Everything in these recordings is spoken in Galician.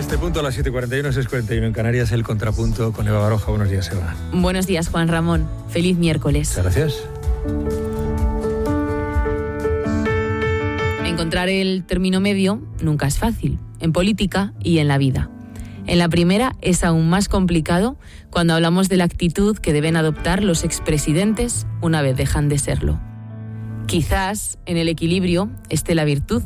este punto a las 7:41, 6:41 en Canarias, el contrapunto con Eva Baroja. Buenos días, Eva. Buenos días, Juan Ramón. Feliz miércoles. Muchas gracias. Encontrar el término medio nunca es fácil, en política y en la vida. En la primera es aún más complicado cuando hablamos de la actitud que deben adoptar los expresidentes una vez dejan de serlo. Quizás en el equilibrio esté la virtud.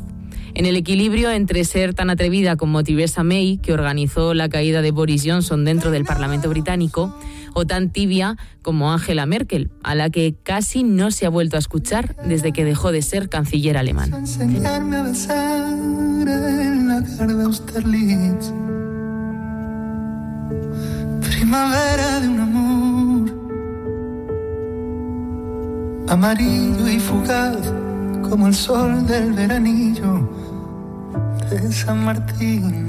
En el equilibrio entre ser tan atrevida como Theresa May, que organizó la caída de Boris Johnson dentro del Parlamento británico, o tan tibia como Angela Merkel, a la que casi no se ha vuelto a escuchar desde que dejó de ser canciller alemán. Enseñarme a besar en la cara de Austerlitz. Primavera de un amor amarillo y fugaz como el sol del veranillo de San Martín.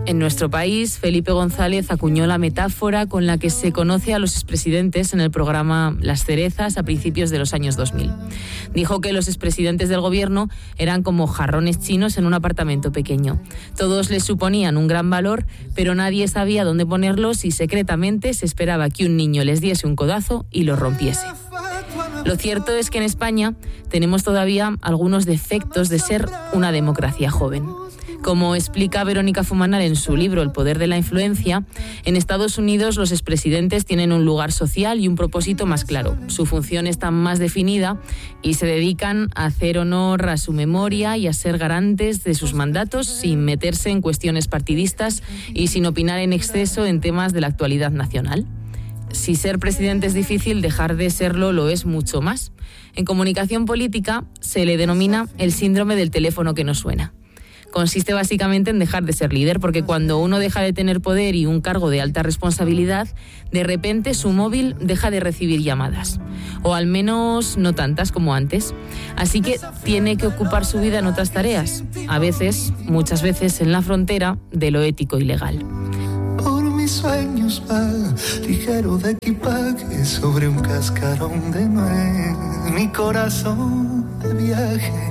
En nuestro país, Felipe González acuñó la metáfora con la que se conoce a los expresidentes en el programa Las Cerezas a principios de los años 2000. Dijo que los expresidentes del gobierno eran como jarrones chinos en un apartamento pequeño. Todos les suponían un gran valor, pero nadie sabía dónde ponerlos y secretamente se esperaba que un niño les diese un codazo y los rompiese. Lo cierto es que en España tenemos todavía algunos defectos de ser una democracia joven. Como explica Verónica Fumanal en su libro El poder de la influencia, en Estados Unidos los expresidentes tienen un lugar social y un propósito más claro. Su función está más definida y se dedican a hacer honor a su memoria y a ser garantes de sus mandatos sin meterse en cuestiones partidistas y sin opinar en exceso en temas de la actualidad nacional. Si ser presidente es difícil, dejar de serlo lo es mucho más. En comunicación política se le denomina el síndrome del teléfono que no suena. Consiste básicamente en dejar de ser líder, porque cuando uno deja de tener poder y un cargo de alta responsabilidad, de repente su móvil deja de recibir llamadas, o al menos no tantas como antes. Así que tiene que ocupar su vida en otras tareas, a veces, muchas veces en la frontera de lo ético y legal. Por mis sueños va ligero de equipaje sobre un cascarón de nuez, mi corazón de viaje.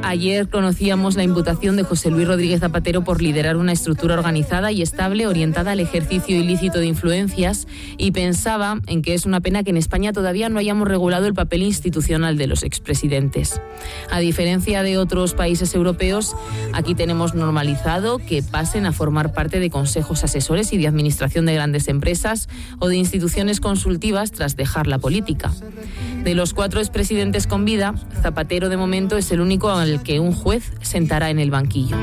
Ayer conocíamos la imputación de José Luis Rodríguez Zapatero por liderar una estructura organizada y estable orientada al ejercicio ilícito de influencias, y pensaba en que es una pena que en España todavía no hayamos regulado el papel institucional de los expresidentes. A diferencia de otros países europeos, aquí tenemos normalizado que pasen a formar parte de consejos asesores y de administración de grandes empresas o de instituciones consultivas tras dejar la política. De los 4 expresidentes con vida, Zapatero de momento es el único al que un juez sentará en el banquillo.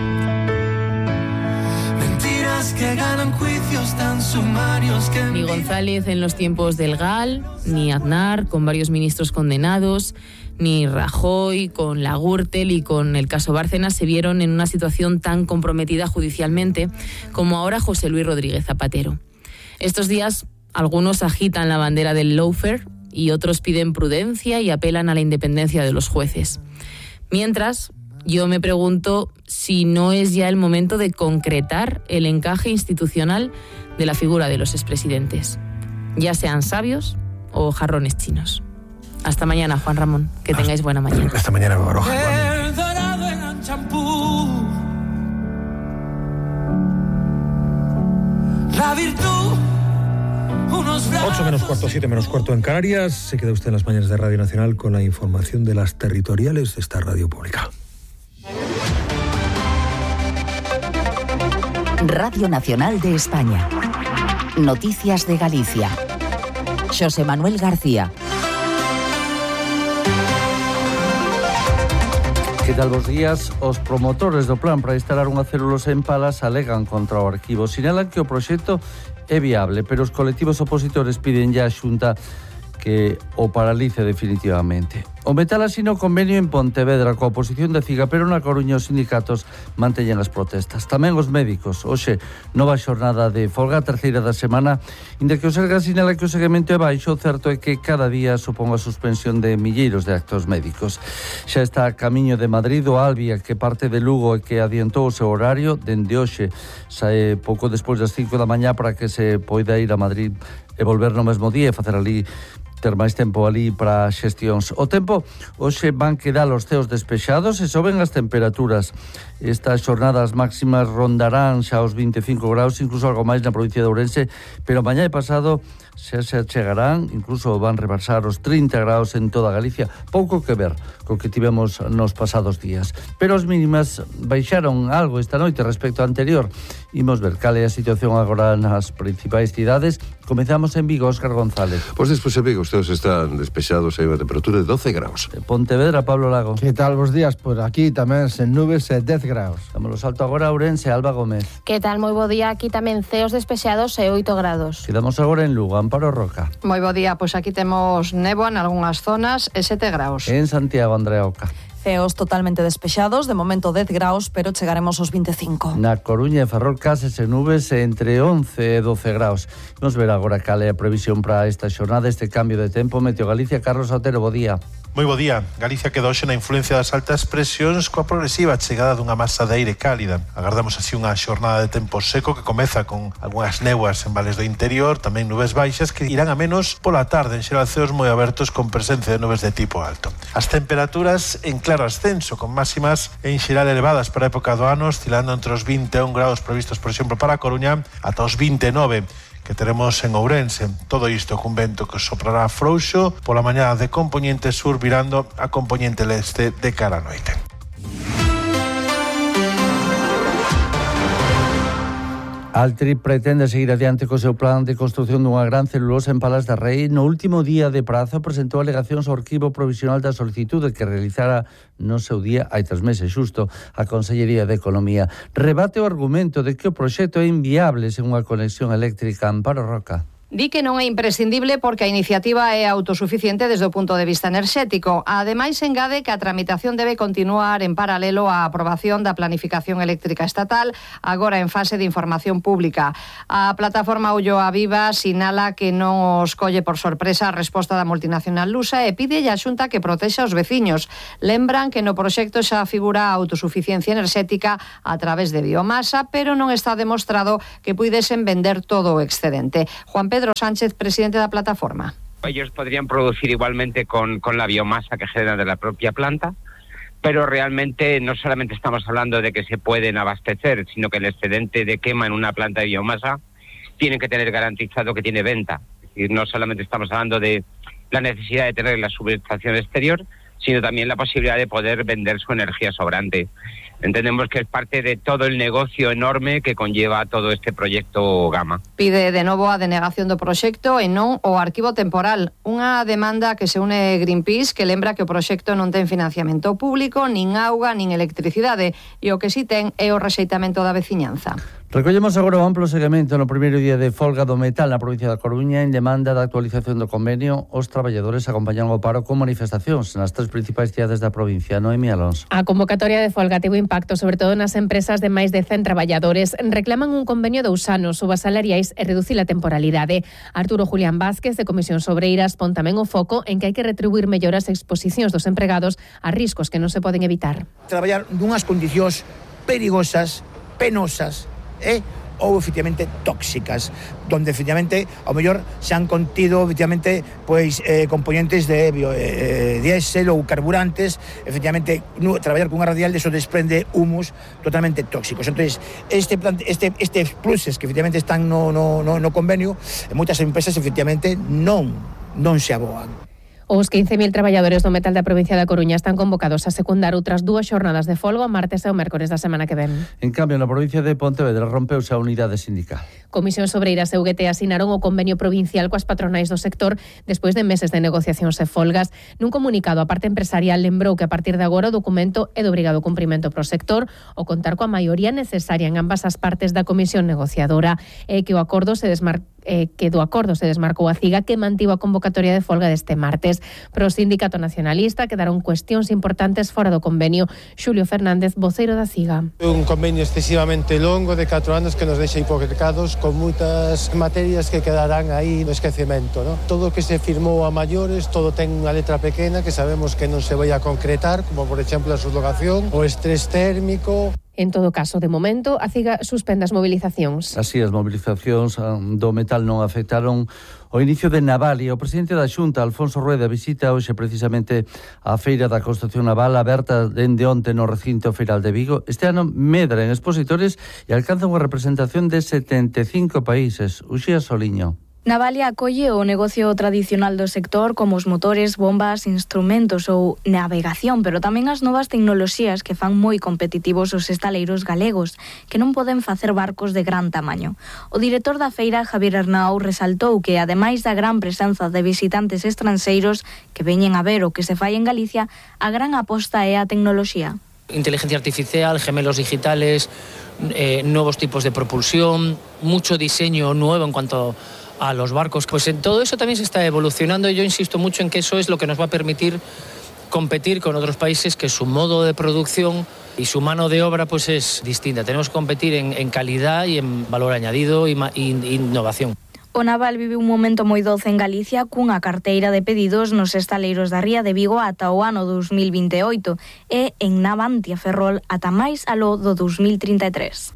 Mentiras que ganan juicios tan sumarios que Ni González en los tiempos del GAL, ni Aznar con varios ministros condenados, ni Rajoy con la Gürtel y con el caso Bárcenas se vieron en una situación tan comprometida judicialmente como ahora José Luis Rodríguez Zapatero. Estos días algunos agitan la bandera del lawfare y otros piden prudencia y apelan a la independencia de los jueces. Mientras, yo me pregunto si no es ya el momento de concretar el encaje institucional de la figura de los expresidentes, ya sean sabios o jarrones chinos. Hasta mañana, Juan Ramón. Que tengáis buena mañana. Hasta mañana, Baroja. el dorado en el champú. La virtud. 8 menos cuarto, 7 menos cuarto en Canarias. Se queda usted en las mañanas de Radio Nacional con la información de las territoriales de esta radio pública. Radio Nacional de España. Noticias de Galicia. Xosé Manuel García. Que tal bos días? Os promotores do plan para instalar unha celulosa en Palas alegan contra o arquivo. Sinalan que o proxecto é viable, pero os colectivos opositores piden ya a Xunta que o paralice definitivamente. O metal asina o convenio en Pontevedra coa oposición de Ciga, pero na Coruña os sindicatos manteñen as protestas. Tamén os médicos. Hoxe, nova xornada de folga, a terceira da semana, inda que o Sergas sinala que o seguimento é baixo, o certo é que cada día supón a suspensión de milleiros de actos médicos. Xa está a camiño de Madrid o Albia, que parte de Lugo e que adiantou o seu horario dende hoxe. Sae pouco despois das 5 da mañá para que se poida ir a Madrid e volver no mesmo día e facer ali ter máis tempo ali para xestións. O tempo, hoxe van quedar os ceos despexados e soben as temperaturas. Estas xornadas máximas rondarán xa os 25 graus, incluso algo máis na provincia de Ourense, pero mañá e pasado xa se chegarán, incluso van rebasar os 30 graus en toda Galicia. Pouco que ver co que tivemos nos pasados días. Pero as mínimas baixaron algo esta noite respecto ao anterior. Imos ver cal é a situación agora nas principais cidades. Comezamos en Vigo, Óscar González. Pois despois en Vigo, ustedes están despexados, hai unha temperatura de 12 graus. Pontevedra, Pablo Lago. Que tal, bos días? Por aquí tamén sen nubes e 10 graus. Damos o salto agora a Ourense, Alba Gómez. Que tal, moi bo día, aquí tamén ceos despexados e 8 grados. Quedamos agora en Lugo, Amparo Roca. Moi bo día, pois aquí temos néboa en algunhas zonas e 7 graus. En Santiago, Andrea Oca. Ceos totalmente despexados, de momento 10 graus, pero chegaremos aos 25. Na Coruña e Ferrol cases e nubes entre 11 e 12 graus. Vamos ver agora cal é a previsión para esta xornada, este cambio de tempo. Meteo Galicia, Carlos Otero, bo día. Moi bo día. Galicia queda hoxe na influencia das altas presións coa progresiva chegada dunha masa de aire cálida. Agardamos así unha xornada de tempo seco que comeza con algunhas néboas en vales do interior, tamén nubes baixas que irán a menos pola tarde, en xeral ceos moi abertos con presencia de nubes de tipo alto. As temperaturas en claro ascenso, con máximas en xeral elevadas para a época do ano, oscilando entre os 21 graus previstos, por exemplo, para a Coruña, ata os 29 que teremos en Ourense. Todo isto cun vento que soprará frouxo pola mañá de compoñente sur virando a compoñente leste de cara a noite. Altri pretende seguir adiante co seu plan de construción dunha gran celulosa en Palas de Rei. No último día de prazo presentou alegacións ao arquivo provisional da solicitude que realizara no seu día hai 3 meses xusto a Consellería de Economía. Rebate o argumento de que o proxecto é inviable sen unha conexión eléctrica. Amparo Roca. Di que non é imprescindible porque a iniciativa é autosuficiente desde o punto de vista enerxético. Ademais, engade que a tramitación debe continuar en paralelo á aprobación da planificación eléctrica estatal, agora en fase de información pública. A plataforma Ulloa Viva sinala que non os colle por sorpresa a resposta da multinacional lusa e pide a Xunta que protexa os veciños. Lembran que no proxecto xa figura a autosuficiencia enerxética a través de biomasa, pero non está demostrado que puidesen vender todo o excedente. Juan Pedro Sánchez, presidente de la plataforma. Ellos podrían producir igualmente con la biomasa que generan de la propia planta, pero realmente no solamente estamos hablando de que se pueden abastecer, sino que el excedente de quema en una planta de biomasa tienen que tener garantizado que tiene venta. Es decir, no solamente estamos hablando de la necesidad de tener la subestación exterior, sino también la posibilidad de poder vender su energía sobrante. Entendemos que es parte de todo el negocio enorme que conlleva todo este proxecto Gama. Pide de novo a denegación do proxecto e non o arquivo temporal. Unha demanda que se une Greenpeace, que lembra que o proxecto non ten financiamento público, nin auga, nin electricidade, e o que si ten é o rexeitamento da veciñanza. Recollemos agora o amplo seguimento no primeiro día de folga do metal na provincia da Coruña en demanda da actualización do convenio. Os traballadores acompañan o paro con manifestacións nas 3 principais cidades da provincia. Noemi Alonso. A convocatoria de folga tivo impacto sobre todo nas empresas de máis de 100 traballadores. Reclaman un convenio de 2 anos, subas salariais e reducir a temporalidade. Arturo Julián Vázquez, de Comisións Obreiras, pon tamén o foco en que hai que retribuir mellor as exposicións dos empregados a riscos que non se poden evitar. Traballar nunhas condicións perigosas, penosas, ou efectivamente tóxicas, donde efectivamente ao mellor se han contido efectivamente componentes de diésel ou carburantes, efectivamente traballar con unha radial de eso desprende humus totalmente tóxicos. Entonces, estes pluses que efectivamente están no convenio, moitas empresas efectivamente non se aboan. Os 15.000 traballadores do metal da provincia da Coruña están convocados a secundar outras 2 xornadas de folga o martes e o mércores da semana que ven. En cambio, na provincia de Pontevedra rompeuse a unidade sindical. Comisións Obreiras e UGT asinaron o convenio provincial coas patronais do sector despois de meses de negociacións e folgas. Nun comunicado, a parte empresarial lembrou que a partir de agora o documento é de obrigado cumprimento pro sector o contar coa maioría necesaria en ambas as partes da comisión negociadora e que do acordo se desmarcou a CIGA que mantivo a convocatoria de folga deste martes. Pro Sindicato Nacionalista quedaron cuestións importantes fora do convenio. Xulio Fernández, voceiro da CIGA. Un convenio excesivamente longo de 4 anos que nos deixa hipotecados con moitas materias que quedarán aí no esquecemento, ¿no? Todo o que se firmou a maiores, todo ten unha letra pequena que sabemos que non se vai a concretar, como por exemplo a subrogación, o estrés térmico. En todo caso, de momento, a CIGA suspende as mobilizacións. Así, as mobilizacións do metal non afectaron o inicio de Navalia. O presidente da Xunta, Alfonso Rueda, visita hoxe precisamente a Feira da Construcción Naval aberta dende onte no recinto feiral de Vigo. Este ano medra en expositores e alcanza unha representación de 75 países. Uxía Soliño. Navalia acolle o negocio tradicional do sector como os motores, bombas, instrumentos ou navegación, pero tamén as novas tecnoloxías que fan moi competitivos os estaleiros galegos, que non poden facer barcos de gran tamaño. O director da feira, Javier Arnau, resaltou que, ademais da gran presenza de visitantes estranxeiros que veñen a ver o que se fai en Galicia, a gran aposta é a tecnoloxía. Inteligencia artificial, gemelos digitales, nuevos tipos de propulsión, mucho diseño nuevo en cuanto a los barcos. Pues en todo eso también se está evolucionando y yo insisto mucho en que eso es lo que nos va a permitir competir con otros países que su modo de producción y su mano de obra pues es distinta. Tenemos que competir en calidad y en valor añadido e innovación. O naval vive un momento moi doce en Galicia cunha carteira de pedidos nos estaleiros da Ría de Vigo ata o ano 2028 e en Navantia Ferrol ata máis aló do 2033.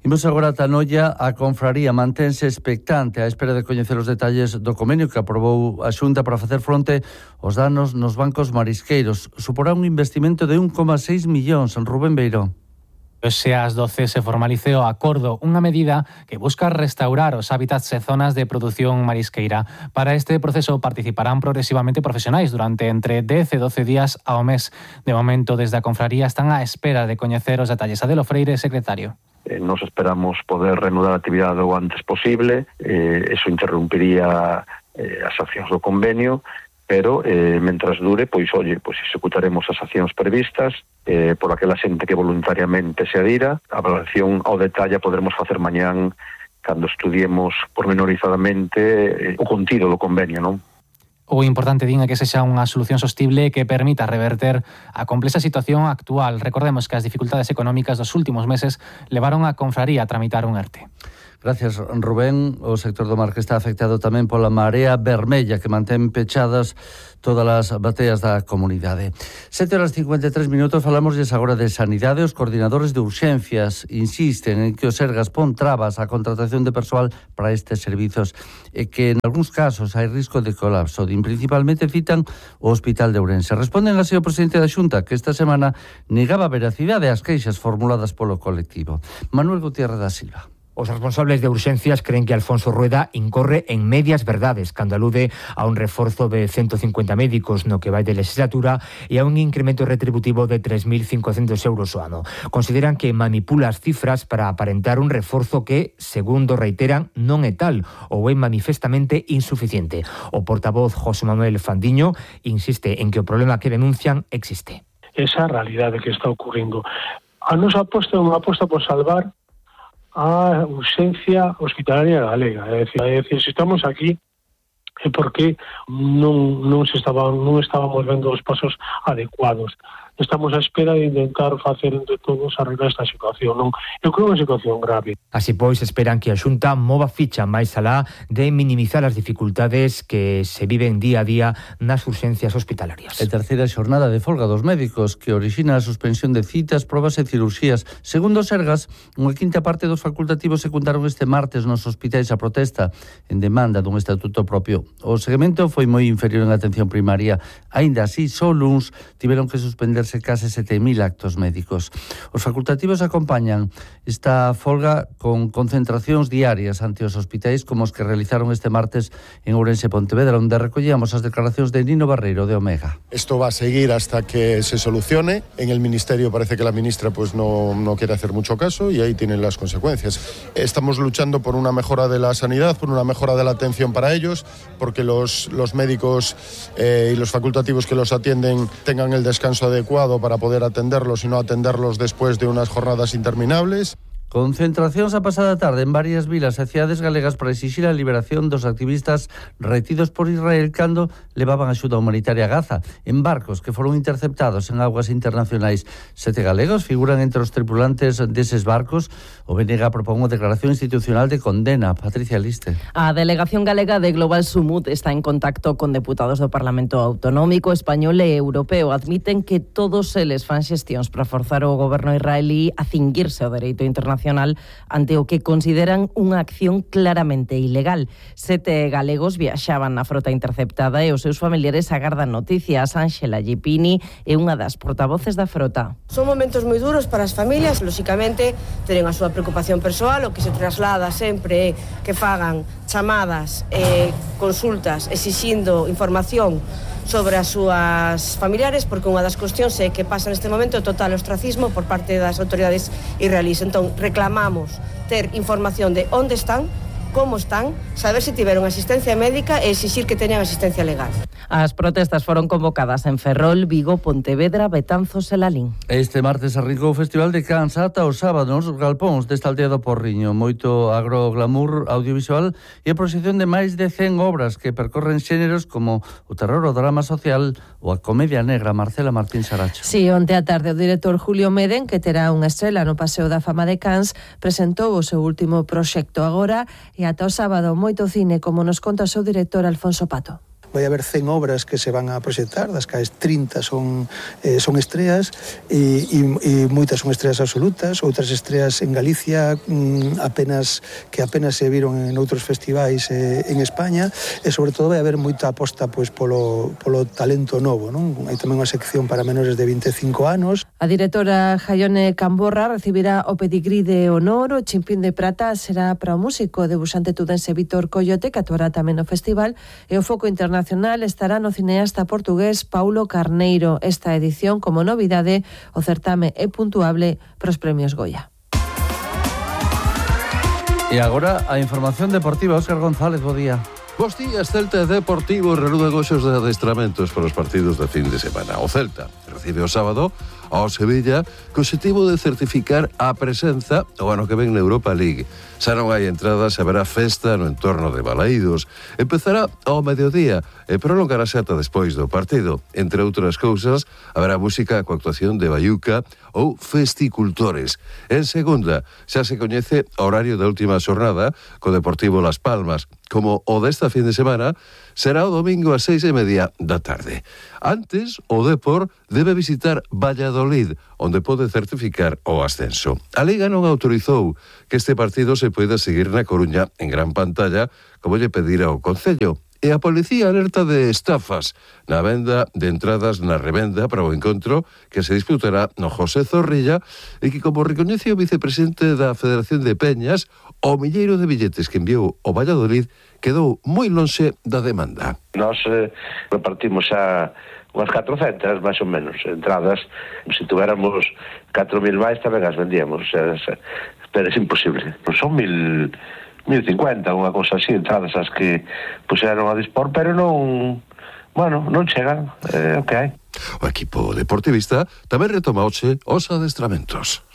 Imos agora a Tanoia. A confraría mantense expectante á espera de coñecer os detalles do convenio que aprobou a Xunta para facer fronte aos danos nos bancos marisqueiros. Suporá un investimento de 1,6 millóns. Rubén Beiró. Hoxe ás 12 se formalizou o acordo, unha medida que busca restaurar os hábitats e zonas de produción marisqueira. Para este proceso participarán progresivamente profesionais durante entre 10 e 12 días ao mes. De momento, desde a confraría están á espera de coñecer os detalles. Adelo Freire, secretario. Nos esperamos poder reanudar a actividade o antes posible. Eso interrumpiría as accións do convenio, pero mentras dure, pois executaremos as accións previstas por aquela xente que voluntariamente se adira. A valoración ao detalle poderemos facer mañán cando estudiemos pormenorizadamente o contido do convenio, non? O importante, din, é que sexa unha solución sostible que permita reverter a complexa situación actual. Recordemos que as dificultades económicas dos últimos meses levaron a confraría a tramitar un ERTE. Gracias, Rubén. O sector do mar que está afectado tamén pola marea vermella que mantén pechadas todas as bateas da comunidade. 7:53, falamosles agora de sanidade. Os coordinadores de urxencias insisten en que o Sergas pon trabas á contratación de persoal para estes servizos e que en algúns casos hai risco de colapso. Principalmente citan o Hospital de Ourense. Responden así o presidente da Xunta, que esta semana negaba veracidade ás queixas formuladas polo colectivo. Manuel Gutiérrez da Silva. Os responsables de urxencias creen que Alfonso Rueda incorre en medias verdades cando alude a un reforzo de 150 médicos no que vai de legislatura e a un incremento retributivo de 3.500 euros ao ano. Consideran que manipula as cifras para aparentar un reforzo que, segundo reiteran, non é tal ou é manifestamente insuficiente. O portavoz José Manuel Fandiño insiste en que o problema que denuncian existe. Esa realidade que está ocurrindo. A nosa aposta é unha aposta por salvar a urxencia hospitalaria galega. É dicir, se estamos aquí é porque non estábamos vendo os pasos adecuados. Estamos á espera de intentar facer entre todos arreglar esta situación. Non? Eu creo que é unha situación grave. Así pois, esperan que a Xunta mova ficha máis alá de minimizar as dificultades que se viven día a día nas urxencias hospitalarias. A terceira xornada de folga dos médicos que orixina a suspensión de citas, probas e cirurxías. Segundo Sergas, unha quinta parte dos facultativos secundaron este martes nos hospitais a protesta en demanda dun estatuto propio. O segmento foi moi inferior en atención primaria. Aínda así, só uns tiveron que suspenderse case 7.000 actos médicos. Os facultativos acompañan esta folga con concentracións diarias ante os hospitais como os que realizaron este martes en Ourense e Pontevedra, onde recollíamos as declaracións de Nino Barreiro de Omega. Esto va a seguir hasta que se solucione. En el Ministerio parece que la ministra pues no quiere hacer mucho caso y ahí tienen las consecuencias. Estamos luchando por una mejora de la sanidad, por una mejora de la atención para ellos, porque los médicos y los facultativos que los atienden tengan el descanso adecuado para poder atenderlos y no atenderlos después de unas jornadas interminables. Concentracións a pasada tarde en varias vilas e cidades galegas para exixir a liberación dos activistas retidos por Israel cando levaban axuda humanitaria a Gaza en barcos que foron interceptados en aguas internacionais. 7 galegos figuran entre os tripulantes deses barcos. O BNG propón unha declaración institucional de condena. Patricia Liste. A delegación galega de Global Sumut está en contacto con deputados do Parlamento Autonómico español e europeo. Admiten que todos eles fan xestións para forzar o goberno israelí a cinguirse ao dereito internacional ante o que consideran unha acción claramente ilegal. 7 galegos viaxaban na frota interceptada e os seus familiares agardan noticias. Ángela Gipini é unha das portavoces da frota. Son momentos moi duros para as familias, lóxicamente tenen a súa preocupación persoal, o que se traslada sempre é que fagan chamadas e consultas exixindo información sobre as súas familiares, porque unha das cuestións é que pasa neste momento o total ostracismo por parte das autoridades israelíes. Entón, reclamamos ter información de onde están, como están, saber se tiveron asistencia médica e exixir que teñan asistencia legal. As protestas foron convocadas en Ferrol, Vigo, Pontevedra, Betanzos e Lalín. Este martes arrancou o Festival de Cans ata o sábado nos galpóns desta aldea do Porriño. Moito agroglamour audiovisual e a proxección de máis de 100 obras que percorren xéneros como o terror, o drama social ou a comedia negra. Marcela Martín Saracho. Si, onte a tarde o director Julio Meden, que terá unha estrela no Paseo da Fama de Cans, presentou o seu último proxecto agora e ata o sábado moito cine, como nos conta o seu director Alfonso Pato. Vai haber 100 obras que se van a proxectar, das cales 30 son estreas e moitas son estreas absolutas, outras estreas en Galicia apenas se viron en outros festivais en España, e sobre todo vai haber moita aposta pois polo talento novo, non? Hai tamén unha sección para menores de 25 anos. A directora Jaione Camborra recibirá o pedigrí de honor. O Chimpín de Prata será para o músico debuxante tudense Víctor Coyote, que actuará tamén no festival, e o foco internacional estará no cineasta portugués Paulo Carneiro. Esta edición, como novidade, o certame é puntuable para os premios Goya. E agora a información deportiva. Óscar González, bo día. Bos días, Celta e Deportivo reanudan goxos de adestramentos para os partidos de fin de semana. O Celta recibe o sábado ao Sevilla co objetivo de certificar a presenza o ano que ven na Europa League. Xa non hai entradas, haberá festa no entorno de Balaídos. Empezará ao mediodía e prolongarase ata despois do partido. Entre outras cousas, haberá música coa actuación de Baiuca ou Festicultores. En segunda, xa se coñece o horario da última xornada co Deportivo Las Palmas. Como o desta fin de semana, será o domingo ás 6:30 da tarde. Antes, o Depor debe visitar Valladolid, onde pode certificar o ascenso. A Liga non autorizou que este partido se poida seguir na Coruña en gran pantalla, como lle pedira o Concello. E a policía alerta de estafas na venda de entradas na revenda para o encontro que se disputará no José Zorrilla e que, como recoñece o vicepresidente da Federación de Peñas, o milleiro de billetes que enviou o Valladolid quedou moi lonxe da demanda. Nós repartimos xa unhas 400, máis ou menos, entradas. Se tuviéramos 4.000 máis, tamén as vendíamos. Pero é imposible. Son 1.050, unha cousa así, entradas as que puseron a dispor, pero non chegan, o que hai. O equipo deportivista tamén retoma hoxe os adestramentos.